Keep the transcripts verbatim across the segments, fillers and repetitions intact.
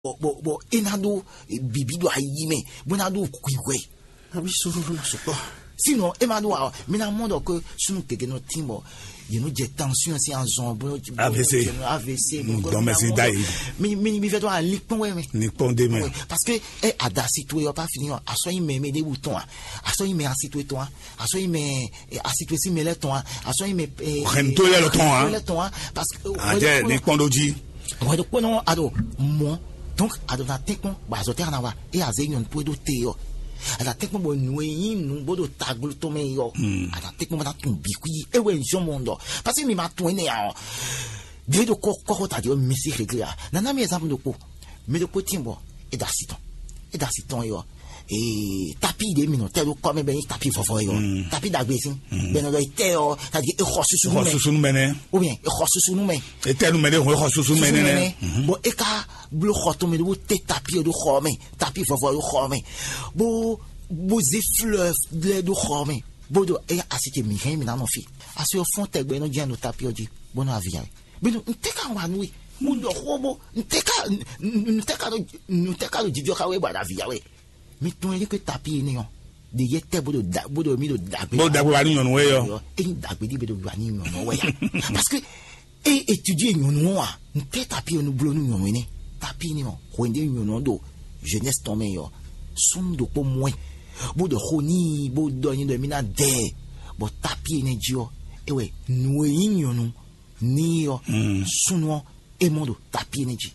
bɔ bɔ bɔ e ná ɖó bibi ɖo ayi mɛ, bó ná ɖó hwihwɛ. Abi soro ɖo na sukpɔ. Sinon e ma ɖó wa, mi na mɔ ɖɔ ke sunu gege nɔ tin bɔ yě nɔ jɛ tension sin azɔn bó AVC. AVC. Gbɔmɛsi da yi. Mi mi mi fɛ to ali kpɔn wɛ mɛ. Ni kpɔn de mɛ. Parce que e adasi to yɔ pa fini yɔ, asɔ yi mɛ mɛ de bu tɔn a, asɔ yi mɛ asi to tɔn a, asɔ yi mɛ asi to si mɛ lɛ tɔn a, asɔ yi mɛ. Hɛn to yɛ lɔ tɔn a. Lɛ tɔn a. Parce que Adze ni kpɔn ɖo jí. Wɛɖokpónɔ aɖo mɔ, donc aɖo na tɛ́nkpɔ́n bɔ azɔ̌ tɛ́ xana wa, é azě nyɔ̌nu kpó ɖó te ɔ́, aɖa tɛ́nkpɔ́n bɔ nǔ e nyí nǔ bó ɖo tagblo tɔn mɛ ɔ́, aɖa tɛ́nkpɔ́n bó ná tunwun bǐ xwí é wɛ zɔ́n mɔ ɖɔ, parce que mi ma tunwun énɛ́ ǎ ɔ́, ɖě ɖo kɔ́xota ɖě ɔ́ mi sí xeglé ǎ. Nana mi example ɖokpó, mi ɖokpó tín bɔ é ɖo asi tɔn, é ɖo asi tɔn é ɔ́, ee tapi ɖě mi nɔ tɛ ɖó kɔ mɛ bɛ nyi tapi vɔvɔ yɔ, tapi dagbe sin bɛ nɔ dɔ tɛ yɔ, tadi e xɔ susu Xɔ mɛ susu nú mɛ nɛ. Ou bien e xɔ susu nú mɛ. E tɛ nú mɛ ɖé hɔn e xɔ susu nú mɛ nɛ nɛ. Bon e ka blo xɔ tɔn mɛ ɖó te tapi ɖó xɔ mɛ, tapi vɔvɔ ɖó xɔ mɛ, bo bo zé fleur lɛ ɖó xɔ mɛ, bo do e asi ce mi hɛn mi na nɔ fi. Asi ɔ fɔn tɛgbɛ nɔ jɛn no tapi ɔ ji, bo nɔ avi ya. Bino n tɛ ka wa nu e, mo dɔ xo bo n tɛ ka n tɛ ka do n tɛ ka do jijɔ ka we ba da avi ya we. Mi tunwun e ɖi ke tapi énɛ́ ɔ́, ɖe yɛ tɛ bó ɖo da bó ɖo mi ɖo dagbe. Bó dagbe wa ní nyɔnu wɛ yɔ. Ényí dagbe ɖi bɛ ɖo wa ní nyɔnu wɛ ya. Parce que e étudier nyɔnu ɔ́ wa, n tɛ tapi ɔ́ nu blo nú nyɔnu énɛ́. Tapi énɛ́ ɔ́, hwɛndé nyɔnu ɔ́ ɖo jeunesse tɔn mɛ yɔ, súnnu ɖokpó mɔ ɛ, bó ɖɔ xó n'i bó ɖɔ nyi ɖɔ mi ná dɛ ɛ, bɔ tapi énɛ́ jí ɔ́, é wɛ nǔ e nyí nyɔnu n'i ɔ́, súnnu ɔ́, é mɔ ɖo tapi énɛ́ jí.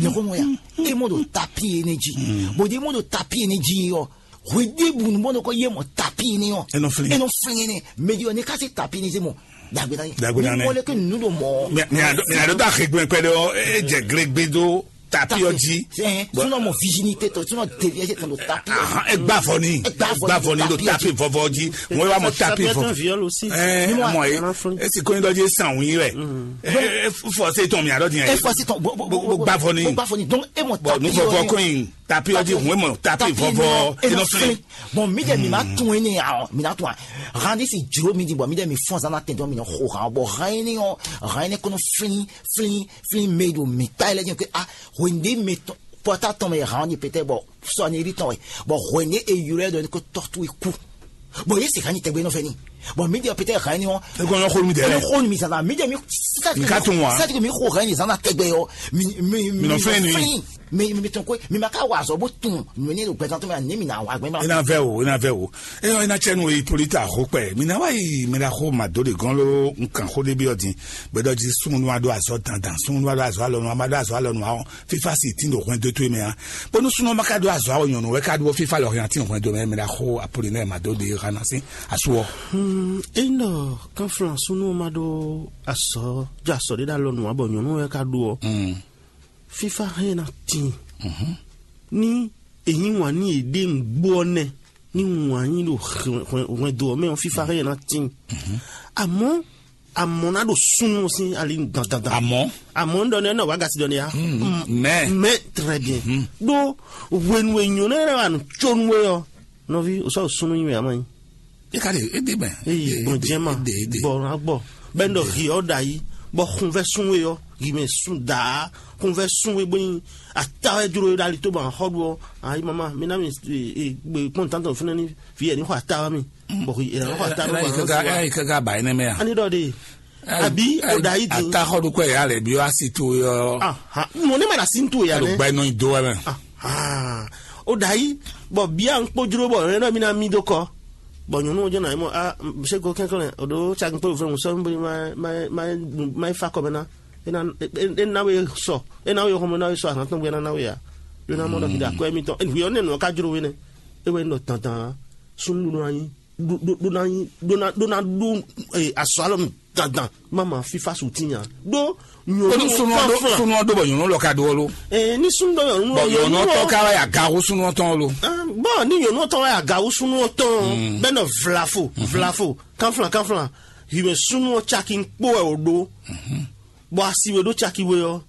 Nyɔxɔmɔ ya, e mɔ ɖo tapi énɛ́ jí. Bɔ ɖe mɔ ɖo tapi énɛ́ jí ɔ́, hweɖěbǔ nu bɔ nɔ kɔ yé mɔ tapi énɛ́ ɔ́, Enɔ flin. Enɔ flin énɛ́. Mɛ jí ɔ́, ne ka se tapi énɛ́ zé mɔ dagbe na yé. Dagbe na yé. Mɔ lɛ ke nu ɖo mɔ. Mi a dɔ da xegbe kpɛ ɖe ɔ, e jɛ glegbe do tapi ɔ jí. Sunɔ mɔ virginité tɔ, sunɔ dévié se tɔn do tapi. Ahan, e gba vɔ ni. E gba vɔ ni do tapi vɔvɔ jí. Mo wa mɔ tapi vɔ. Viol aussi. Ɛ mɔ ye. E si ko ni dɔ jí san wun yi wɛ. E fɔ se tɔn mi a dɔ di yɛ. E fɔ se tɔn bo bo bo gba vɔ ni. Bo gba vɔ ni. Donc e mɔ tapi. Bo nu vɔvɔ ko yin. Tapi ɔdi hun emɔ tapi vɔvɔ enɔ flin. Bon, mi de mi ma tún ene a ɔ mi na tún a. Randi si juro mi di bɔ mi de mi fɔn zan na tɛn dɔn mi nɔ xo han bɔ han ene ɔ han ene kɔnɔ flin flin flin me do mi ta ilẹ jẹ ke a hwende me tɔn pɔta tɔn me han ni pete bɔ sɔni ri tɔn wɛ bɔ hwende e yɔrɔ dɔ ni ko tɔtu e ku. Bon, ye se han ni tɛgbɛ nɔ fɛ ni. Bon, mi de pete han ni ɔ. E kɔnɔ xo mi dɛ. Kɔnɔ xo mi zan na mi de mi. Nka tun wa. Sati ko mi xo han ni zan na tɛgbɛ yɔ. Mi mi mi nɔ fɛ ni. Mi mi tɔn ko mi ma ka wa azɔ bo tun nɔ ne do gbɛzan tɔn mi ani mi na wa gbɛ ma. I na vɛ o, i na vɛ o. Eyɔ i na cɛ nu o yi poli ta xo kpɛ mi na wa yi mi na xo ma do de gɔn lo nkan xo de bi ɔ din. Gbɛdɔ ji sunnu wa do azɔ dandan sunnu wa do azɔ alɔnu a ma do azɔ alɔnu a ɔ fifa si tin do hwɛn do to mɛ a. Bonu sunnu ma ka do azɔ awɔ nyɔnu wɛ ka do fifa lɔ hɛn a tin hwɛn do mɛ mi na xo apoli nɛ ma do de ha na si asu ɔ. Eyin ɖɔ kanflan súnú ma ɖó asɔ jɔ asɔ ɖé ɖo alɔnu ǎ bɔ nyɔ̌nu wɛ ka ɖó ɔ́, fífá hɛn ná tíin. Ní èyí wǎn ní yěɖée nǔgbó ɔ́ nɛ́, ní wǎn yí ɖo hwɛndo ɔ́ mɛ ɔ́, fífá hɛn ná tíin. Amɔ̌ amɔ̌ ná ɖo súnnu sín ali dandandan. Amɔ̌ amɔ̌ ń ɖɔ ní ɛnɛ wǎ gasi ɖɔ ní ya. Mɛ mɛ très bien. Ɖó hwenu e nyɔ̌nu ɛnɛ wà nǔ có nú we ɔ́, nɔví, o sɔ́ ɖo súnnu nyi wɛ a ma nyí. E ka ɖe e ɖe mɛ. Eyi gbɔn jɛma gbɔ na gbɔ bɛ n dɔ hi ɔ da yi bɔ xunvɛ sun we ɔ yi mɛ sun daa xunvɛ sun we bɔ yin ata wɛ jlo da li to ban xɔ do ɔ ayi mama mi na mi gbe kpɔn tantɔ fúnɛ ni fi yɛ ni xɔ ata wa mi bɔ yi ɛna xɔ ata wa. Ayi kaka ba yi nɛ mɛ ya. Ani dɔ de abi o da yi di. Ata xɔ do kɔ ya lɛ bi wa si to yɔ. Aha mo ne ma na si to ya lɛ. Gba inɔ do wa mɛ. Ah, o da yi bɔ bia n kpo jlo bɔ ne dɔ mi na mi do kɔ. Bɔ nyɔnu jɔ na mɔ a se ko kɛnklɛn o do tsa n kpo fɛn sɔ mi ma ma ma ma fa kɔ mɛ na. E na e na we sɔ e na we xɔmɔ na we sɔ ahan tɔn gbɛ na na we ya. Ɖo na mɔ dɔ ki da kɔ mi tɔn e nuyɔ ne nɔ ka jlo we ne. E wɛ nɔ tantan sunnu ɖo na nyi ɖo ɖo ɖo na nyi ɖo na ɖo na ɖo asɔ alɔ mi dandan. Mama fifa su ti nya ɖo. Onu nyɔnu sunɔ do sunɔ do bɔ nyɔnu lɔ ka do ɔlo. Ee ni sunɔ do nyɔnu bɔ nyɔnu tɔ ka wa ya gawo sunɔ tɔn ɔlo. Bɔn ni nyɔnu tɔ wa ya gawo sunɔ tɔn bɛ nɔ vlafo vlafo kanflan kanflan himɛ sunɔ caki kpo wɛ o do. Bɔn asi we do caki we ɔ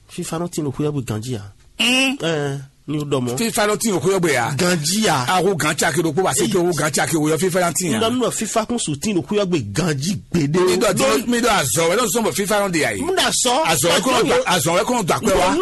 fifa nɔ tin ɖo xwé ɔ́ bó ganjí ǎ. Ɛɛ, ní o dɔ mɔ. Fífa ló tín òkú yɔ́gbé ya. Ganjí ya. Awo gan caki ɖokpó bá sí kí owó gan caki wòyɔ fífa ló tín ya. Nínú fífa kún sùn tín òkú yɔ́gbé ganjí gbèdé. Mi dɔ tí mi dɔ azɔ wɛ ló sɔn bɔ fífa ló di yà yìí. Múdà sọ. Azɔ wɛ kó ló dɔ azɔ wɛ kó ló dɔ àpẹ wa.